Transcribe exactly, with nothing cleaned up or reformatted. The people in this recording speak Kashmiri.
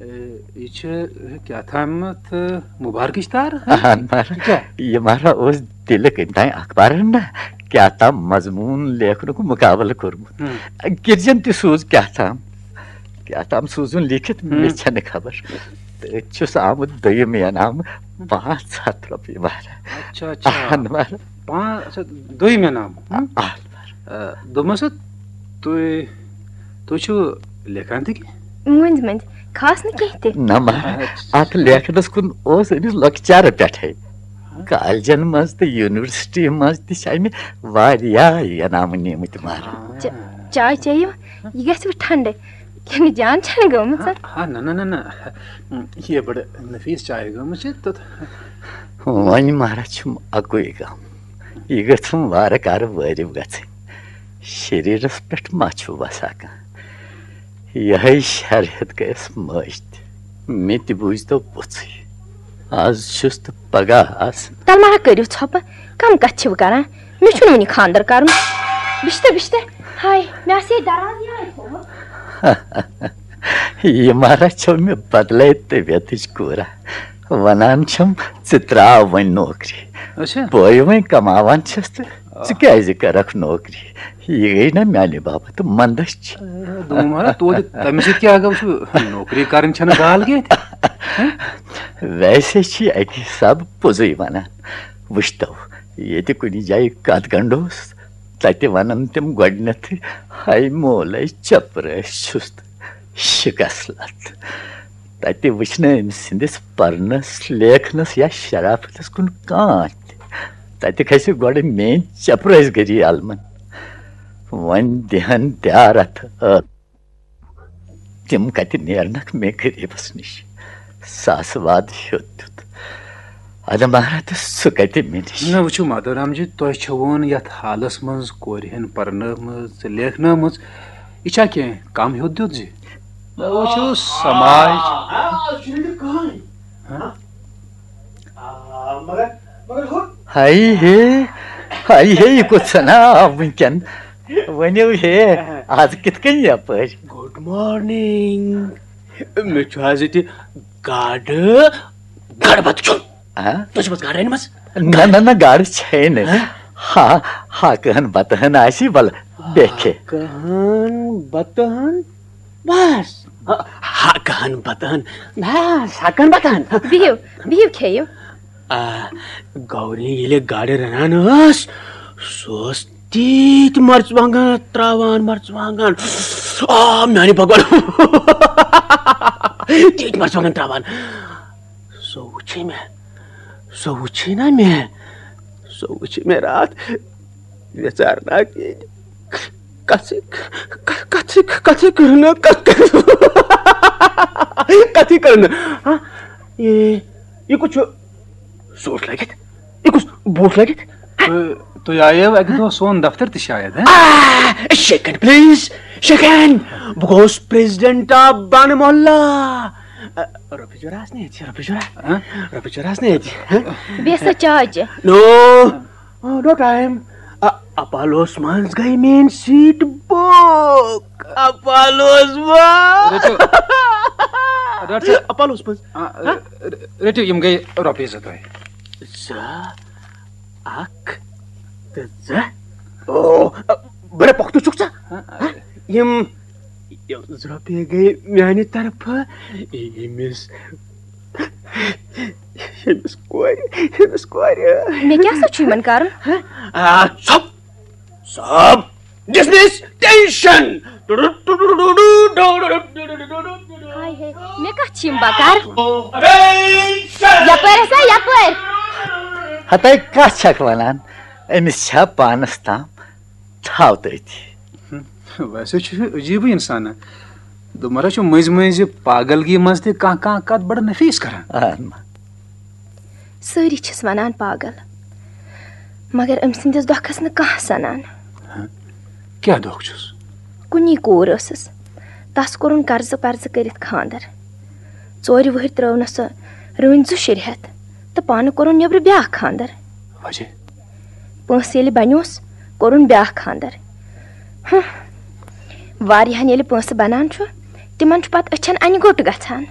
اے، یہِ چھِ کیٛاہ تامَتھ مُبارکٕچ تار، ہہ؟ اہن مہراہ۔ کیٛاہ؟ یہِ مہراہ اوس دِلہِ کٔمۍ تام اخبارن نہ کیٛاہ تام مضموٗن لیکھنُک مُقابلہٕ کوٚرمُت۔ ہم۔ گِرجن تہِ سوٗز کیٛاہ تام، کیٛاہ تام سوٗزُن لیکھِتھ، ہم۔ مےٚ چھَنہٕ خبر۔ تہٕ أتۍ چھُس آمُت دوٚیِم انعام، پانٛژھ ہَتھ رۄپیہِ مہراہ۔ اچھا، اچھا۔ اہن مہراہ۔ پانٛژھ، اچھا، دوٚیِم انعام، ہم؟ اہن مہراہ۔ آ، دوٚپمَس، تُہۍ، تُہۍ چھِو لیکھان تہِ کینٛہہ؟ مٔنٛزۍ مٔنٛزۍ، خاص نہٕ کینٛہہ تہِ۔ نہ مہراہ، اچھا۔ اَتھ لیکھنَس کُن اوس أمِس لۄکچارٕ پٮ۪ٹھَے۔ کالجن منٛز تہٕ یونیورسٹی منٛز تہِ چھِ أمۍ واریاہ انعامہٕ نِمٕتۍ مہراہ۔ چا-، چاے چیٚیِو، یہِ گژھِ وۄنۍ ٹھنٛڈٕ۔ کِنہٕ جان چھَنہٕ گٔمٕژ؟ ہا، ہا، نہ، نہ، نہ، نہ۔ یہِ بڑٕ نفیٖس چاے گٔمٕژ چھِ تہٕ۔ وۄنۍ مہراہ چھُم اَکُے غم، یہِ گٔژھٕم وارٕ کارٕ وٲرِو گژھٕنۍ۔ شریٖرس پٮ۪ٹھ ما چھُ وسا کانٛہہ؟ یِہوٚے شرحیت گٔیَس مٔج تہِ۔ مےٚ تہِ بوٗزۍتو پوٚژھُے۔ آز چھُس تہٕ پگاہ آسہٕ۔ تَلہٕ ما ہا کٔرِو ژھۄپہٕ، کَم کَتھٕ چھِو کران؟ مےٚ چھُنہٕ وُنہِ خانٛدر کرُن۔ بِشتہٕ، بِشتہٕ، ہاے، مےٚ آسہِ ہے دروازٕ یَلَے تھوٚومُت۔ یہِ مہراہ چھو مےٚ بدلے طبیعتٕچ کوٗرا۔ وَنان چھَم، ژٕ ترٛاو وۄنۍ نوکری۔ اچھا۔ بہٕ وۄنۍ کماوان چھَس تہٕ ژٕ کیٛازِ کرکھ نوکری؟ یہِ گٔے نہ میانہِ باپتھ منٛدچھ۔ اے، دوٚپمَے مہراہ، توتہِ تَمہِ سۭتۍ کیٛاہ گوٚو؟ چھُ نوکری کرٕنۍ چھَنہٕ گال کینٛہہ تہِ۔ ویسے چھِ اَکہِ حسابہٕ پوٚزُے وَنان۔ وٕچھتو، ییٚتہِ کُنہِ جایہِ کَتھ گنٛڈوس، تَتہِ وَنَن تِم گۄڈٕنٮ۪تھٕے، "ہاے مولَے، چَپرٲسۍ چھُس تہٕ شِکَس لَتھ۔" تَتہِ وٕچھِ نہٕ أمۍ سٕنٛدِس پَرنَس، لیکھنَس یا شرافتَس کُن کانٛہہ تہِ۔ تَتہِ کھسہِ گۄڈٕ میٛٲنۍ چپرٲسۍ گٔری علمن۔ وۄنۍ دِہن دیارتھ ٲ-، تِم کتہِ نیرنکھ مےٚ غریٖبس نِش؟ ساسہٕ واد ہیوٚت دیُت۔ ادٕ مہراہ تہٕ سُہ کتہِ مےٚ نِش؟ نہ، وٕچھِو مادھو رام جی، تۄہہِ چھَوٕ نہٕ یتھ حالس منٛز کورِ ہن پرنٲومٕژ، لیکھنٲومٕژ۔ یہِ چھا کینٛہہ کم ہیوٚت دیُت زِ؟ نہ، وٕچھِو سماج۔ آ، آ، آ، آ، مگر، مگر ہُہ ہاے ہے، ہاے ہے، یہِ کوٚت سنا آو وٕنکٮ۪ن؟ ؤنِو ہے، آز کِتھ کٔنۍ یپٲرۍ؟ Good morning. مےٚ چھُ آز ییٚتہِ گاڈٕ، گاڈٕ بَتہٕ کھیوٚن۔ ہا؟ تۄہہِ چھُو حظ گاڈٕ أنمٕژ؟ نہ، نہ، نہ، گاڈٕ چھے نہٕ۔ ہا؟ ہا، ہاکہٕ ہن بَتہٕ ہن آسی، وَلہٕ بیٚکھے۔ ہاکہٕ ہن بَتہٕ ہن؟ بس۔ ہا، ہاکہٕ ہن بَتہٕ ہن۔ بس، ہاکہٕ ہن بَتہٕ ہن۔ بِہِو، بِہِو کھیٚیِو۔ آ، گوری ییٚلہِ گاڈٕ رَنان ٲس، سُہ اوس تیٖتۍ مرژٕوانٛگن ترٛاوان، مرژٕوانٛگن۔ آ، میانہِ بھگوان۔ تیٖتۍ مرژٕوانٛگن ترٛاوان۔ سُہ وٕچھے مےٚ، سُہ وٕچھے نا مےٚ، سُہ وٕچھے مےٚ راتھ ویژارناک ییٚتہِ۔ کتھٕے، ک-، کتھٕے، کتھٕے کٔر نہٕ، کتھ کٔر، کتھٕے کٔر نہٕ۔ ہا؟ یہِ، یہِ کُس چھُ سوٗٹ لٲگِتھ؟ یہِ کُس بوٗٹھ لٲگِتھ؟ تُہۍ، تُہۍ آییو اَکہِ دۄہ سون دفتر تہِ شاید، ہہ؟ آ، شیکن پلیز، شیکن۔ بہٕ گوس پریزیڈنٹ آف بانہٕ محلہ۔ آ، رۄپیہِ جورا آسنہٕ ییٚتہِ، رۄپیہِ جورا۔ ہہ؟ رۄپیہِ جورا آسنہٕ ییٚتہِ، ہہ؟ بیٚیہِ سا چاے چےٚ؟ نو۔ آ، نو ٹایم۔ آ، اپالوس منٛز گٔے میٲنۍ سیٖٹ بُک۔ اپالوس منٛز۔ رٔٹِو۔ ڈاکٹر صٲب۔ اپالوس منٛز۔ آ، ہہ؟ ر-، رٔٹِو، یِم گٔے رۄپیہِ زٕ تۄہہِ۔ زٕ، اکھ تہٕ زٕ۔ او، بڑٕ پۄختہٕ چھُکھ ژٕ۔ ہہ؟ یِم، یِم زٕ رۄپیہِ گٔے میانہِ طرفہٕ ییٚمِس، ییٚمِس کورِ، ییٚمِس کورِ۔ مےٚ کیٛاہ سا چھُ یِمن کرُن؟ ہہ؟ آ، ژھۄپ، ژھۄپ، ڈسمس، ٹینشن۔ ہاے ہے، مےٚ کتھ چھِ یِم بکار؟ یپٲرۍ ہسا، یپٲرۍ۔ ہتے کتھ چھکھ ونان؟ أمِس چھا پانس تام؟ تھاو تٔتھۍ۔ ویسے چھُ یہِ عجیٖبٕے اِنسانا۔ دوٚپمَے چھُ مٔنٛزۍ مٔنٛزۍ پاگلگی منٛز تہِ کانٛہہ کانٛہہ کتھ بڑٕ نفیٖس کران۔ اہن ما۔ سٲری چھِس ونان پاگل، مگر أمۍ سٕنٛدِس دۄکھس نہٕ کانٛہہ سنان۔ ہہ؟ کیٛاہ دۄکھ چھُس؟ کُنی کوٗر ٲسٕس، تس کوٚرُن قرضہٕ پرضہٕ کٔرِتھ خانٛدر۔ ژورِ وٕہٕرۍ ترٲونس سۄ رٲنۍ زٕ شُرۍ ہٮ۪تھ تہٕ پانہٕ کوٚرُن نیٚبرٕ بیٛاکھ خانٛدر۔ وجہ؟ پونٛسہٕ ییٚلہِ بنیوس، کوٚرُن بیٛاکھ خانٛدر۔ ہہ، واریاہن ییٚلہِ پونٛسہٕ بنان چھُ، تِمن چھُ پتہٕ أچھن انہِ گوٚٹ گژھان۔